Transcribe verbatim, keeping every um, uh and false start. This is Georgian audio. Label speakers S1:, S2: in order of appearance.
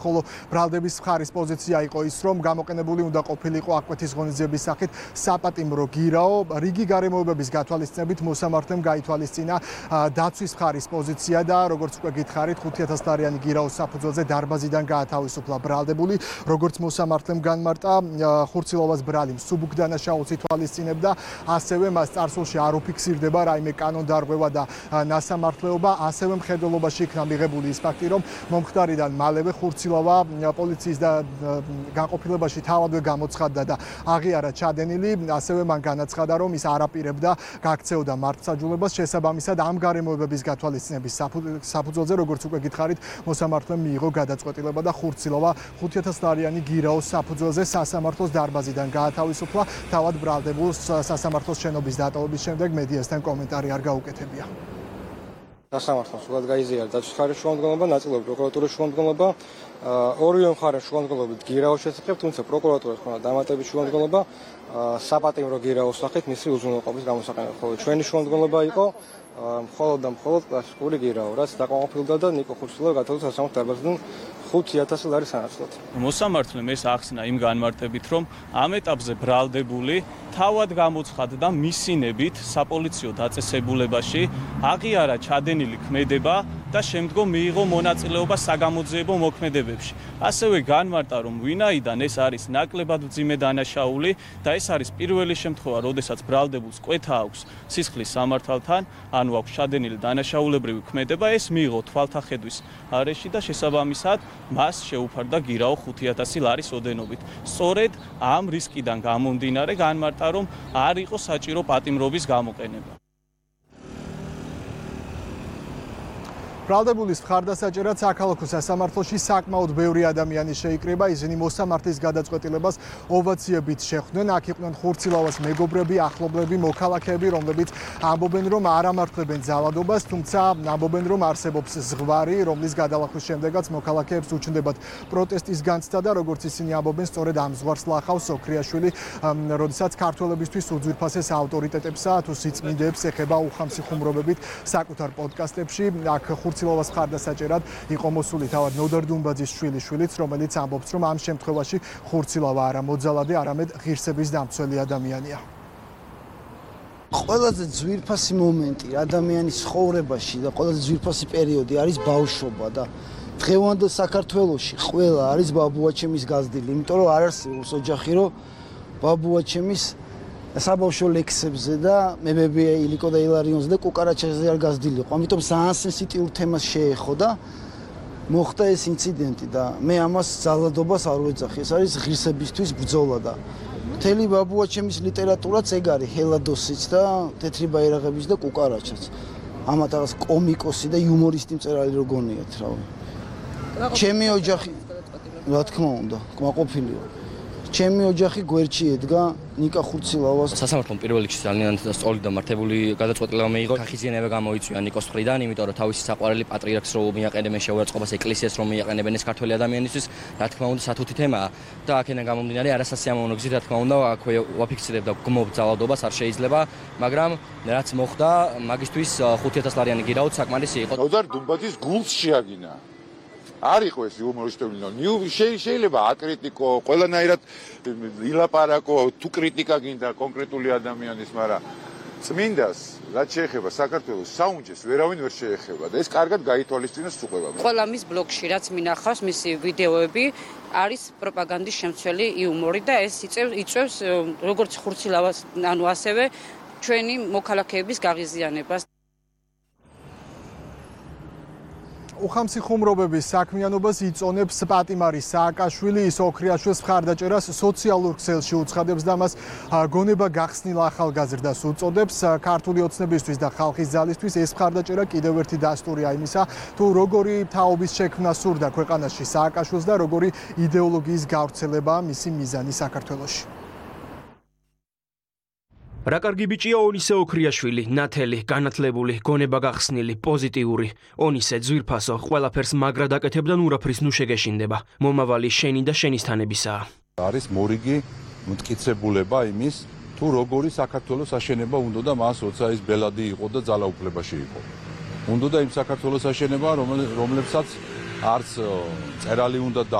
S1: ხოლო ბრალდების მხარის პოზიცია იყო ის, რომ გამოყენებული უნდა ყოფილიყო აკვეთის ღონისძიების სახით საპატიმრო გირაო. რიგი გარემოებების გათვალისწინებით მოსამართლემ გაითვალისწინა დაცვის მხარის პოზიცია და როგორც უკვე გითხარით, ხუთი ათას დოლარიანი გირაოს საფუძველზე დარბაზიდან გაათავისუფლა ბრალდებული. როგორც მოსამართლემ განმარტა, ხურცილოვას ბრალი მსუბუქ დანაშაულს ითვალისწინებდა, ასევე მას წარსულში არ უფიქსირდება რაიმე კანონდარღვევა და ნასამართლეობა, ასევე მხედველობაში იქნა მიღებული ის ფაქტი, რომ მომხდარიდან მალევე ხურცილოვა პოლიციის და განყოფილებაში თავადვე გამოცხადდა და აღიარა ჩადენილი, ასევე მან განაცხადა, რომ ის არ აპირებდა გაქცეოდა მართლმსაჯულებას, შესაბამისად ამ გარემოებების გათვალისწინების საფუძველზე, როგორც უკვე გითხარით, მოსამართლემ მიიღო გადაწყვეტილება და ხურცილოვა ხუთი ათას დოლარიანი გირაოს საფუძველზე სასამართლოს დარბაზიდან გაათავისუფლა. თავად ბრალდებულს სასამართლოს შენობის დატოვების შემდეგ მედიასთან კომენტარი არ გაუკეთებია.
S2: სასამართლოს სულად გაიზიარა დაცვის მხარის შუამდგომლობა, ნაწილობრივ პროკურატურის შუამდგომლობა, ორივე მხარეს შუამდგომლობით გირაოს შესახებ, თუმცა პროკურატურას ჰქონდა დამატებით შუამდგომლობა საპატიმრო გირაოს სახით მისი უზრუნველყოფის გამოსაყენებლად. ხოლო ჩვენი შუამდგომლობა იყო მხოლოდ და მხოლოდ კლასიკური გირაო, რაც დაკმაყოფილდა და ნიკო ხურცილოვას გათავისუფლდა სასამართლო დარბაზიდან ხუთი ათასი ლარის სანაცვლოდ.
S3: მოსამართლემ ეს ახსნა იმ განმარტებით, რომ ამ ეტაპზე ბრალდებული თავად გამოცხადდა მისინებით საპოლიციო დაწესებულებაში, აღიარა ჩადენილი ქმედება და შემდგომ მიიღო მონაწილეობა საგამოძიებო მოქმედებებში. ასევე განმარტა, რომ ვინაიდან ეს არის ნაკლებად მძიმე დანაშაული და ეს არის პირველი შემთხვევა, როდესაც ბრალდებულს კვეთა აქვს სისხლის სამართალთან, ანუ აქვს ჩადენილი დანაშაულებრივი ქმედება, ეს მიიღო თვალთახედვის არეში და შესაბამისად მას შეუფარდა გირაო ხუთი ათასი ლარის ოდენობით. სწორედ ამ რისკიდან გამომდინარე განმარტა, რომ არ იყო საჭირო პატიმრობის გამოყენება.
S1: ბრალდებულის მხარდასაჭერად საქალაქო სასამართლოში საკმაოდ ბევრი ადამიანი შეიკრიბა, ისინი მოსამართლის გადაწყვეტილებას ოვაციებით შეხვდნენ. აქ იყვნენ ხურცილოვას მეგობრები, ახლობლები, მოქალაქეები, რომლებიც ამბობენ, რომ არ ამართლებენ ძალადობას, თუმცა ამბობენ, რომ არსებობს ზღვარი, რომლის გადალახვის შემდეგაც მოქალაქეებს უჩნდებათ პროტესტის განცდა და როგორც ისინი ამბობენ, სწორედ ამ ზღვარს ლახავს ოქრიაშვილი, როდესაც ქართველებისთვის უძვირფასეს ავტორიტეტებსა თუ სიწმინდეებს ეხება უხამსიხუმრობებით საკუთარ პოდკასტებში. აქ ხურცილოვას მხარდასაჭერად იყო მოსული თავად ნოდარ დუმბაძის შვილიშვილიც, რომელიც ამბობს, რომ ამ შემთხვევაში ხურცილოვა არა მოძალადე, არამედ ღირსების დამცველი ადამიანია.
S4: ყველაზე ძვირფასი მომენტი ადამიანის ცხოვრებაში და ყველაზე ძვირფასი პერიოდი არის ბავშვობა და დღევანდელ საქართველოში ყველა არის ბაბუაჩემის გაზრდილი, იმიტომ რომ არ არსებობს ოჯახი, რომ ბაბუაჩემის საბავშვო ლექსებზე და მებები ილიკო და ილარიონზე და კუკარაჩაზე არ გაზრდილიყო. ამიტომ ძალიან სენსიტიურ თემას შეეხო და მოხდა ეს ინციდენტი და მე ამას ძალადობას არ ვეძახი. ეს არის ღირსებისთვის ბრძოლა და მთელი ბაბუაჩემის ლიტერატურაც ეგ არის, ჰელადოსიც და თეთრი ბაირაღების და კუკარაჩაც. ამათ რაღაც კომიკოსი და იუმორისტი მწერალი რო გონიათ, რა. ჩემი ოჯახი, რა თქმა უნდა, კმაყოფილია. ჩემი ოჯახი გვერდში ედგა ნიკა ხურცილოვას.
S5: სასამართლომ პირველ რიგში ძალიან სწორი და მართებული გადაწყვეტილება მიიღო. ხახიზიანება გამოიწვია ნიკოს მხრიდან, იმიტომ რომ თავისი საყვარელი პატრიარქს რო მიაყენებენ შეურაცხყოფას, ეკლესიას რომ მიაყენებენ ეს ქართველი ადამიანისთვის, რა თქმა უნდა, სათუთი თემაა და აქედან გამომდინარე არასასიამოვნო გზით, რა თქმა უნდა, აქვე ვაფიქსირებდა გმობ ძალადობას არ შეიძლება, მაგრამ რაც მოხდა, მაგისთვის ხუთი ათას ლარიანი გირაოც საკმარისი იყო.
S6: ნოდარ დუმბაძის გულს შეაგინა. არ იყო ეს იუმორისტული ნიუ შეიძლება აკრიტიკო, ყველანაირად ილაპარაკო, თუ კრიტიკა გინდა კონკრეტული ადამიანის, მაგრამ წმინდას რაც შეეხება საქართველოს საუნჯეს ვერავინ ვერ შეეხება და ეს კარგად გაითვალისწინოს უყვება.
S7: ყველა მის ბლოგში რაც მინახავს მისი ვიდეოები არის პროპაგანდის შემცველი იუმორი და ეს იწევს როგორც ხურცილოვას, ანუ ასევე ჩვენი მოქალაქეების გაღიზიანებას.
S1: უხამსიხუმრობების საქმიანობას იწონებს პატიმარი სააკაშვილი, ის ოქრიაშვილს მხარდაჭერას სოციალურ ქსელში უცხადებს და მას გონება გახსნილ ახალგაზრდას უწოდებს. ქართული ოცნებისთვის და ხალხის ძალისთვის ეს მხარდაჭერა კიდევ ერთი დასტურია იმისა, თუ როგორი თაობის შექმნა სურდა ქვეყანაში სააკაშვილს და როგორი იდეოლოგიის გავრცელებაა მისი მიზანი საქართველოში.
S8: რა კარგი ბიჭია ონისე ოქრიაშვილი, ნათელი, განათლებული, გონება გახსნილი, პოზიტიური. ონისე ძვირფასო, ყველაფერს მაგრა დაკეთებდა ნურაფრის ნუ შეგეშინდება. მომავალი შენი და შენისთანებისაა.
S9: არის მორიგი მტკიცებულება იმის, თუ როგორი საქართველოს აშენება უნდა და მას როცა ის ბელადი იყო და ძალაუფლებაში იყო. უნდა და იმ საქართველოს აშენება, რომლებსაც არც წერალი უნდა